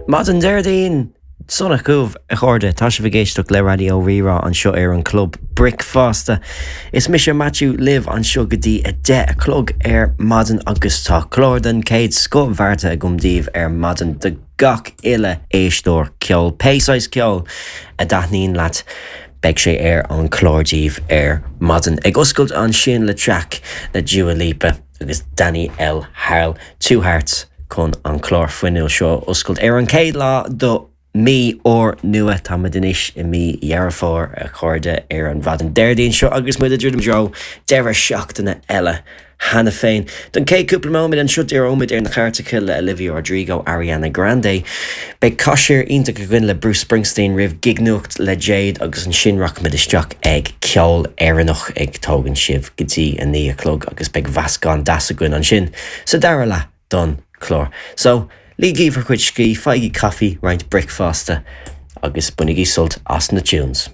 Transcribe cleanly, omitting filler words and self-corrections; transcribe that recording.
Maidin Déardaoin sona chugaibh, a chairde. Tá sibh ag éisteacht le Raidió Rí-Rá anseo ar an Club Bricfeasta. Is mise Maitiú libh anseo go dtí 10 a chlog ar maidin agus tá clár den chéad scoth beartaithe agam daoibh ar maidin do gach uile éisteoir ceoil, pé saghas ceoil a dtaitníonn leat, beidh sé ar an chlár daoibh ar maidin. Ag oscailt ansin le traic le Dua Lipa agus Danny L Harle, Two Hearts, chun an clár fuinniúil seo a oscailt ar an chéad lá do mí úr nua. Táimid anois i mí Dheireadh Fómhair, a chairde, ar an mhaidin Déardaoin seo agus muid ag druidim i dtreo deireadh seachtaine eile cheana féin. Don chéad cúpla nóiméad anseo díreoimid ar na cairteacha le Olivia Rodrigo, Ariana Grande. Beidh cath siar iontach againn le Bruce Springsteen roimh Gignuacht le Jade agus ansin rachaimid isteach ag ceol Éireannach ag tógaint sibh go dtí 9 a chlog agus beidh mheascán deas againn ansin sa dara leath don chlár. So, ligigí bhur gcuid scíth, faighigí caife, roinnt bricfeasta agus bainigí sult as na tunes.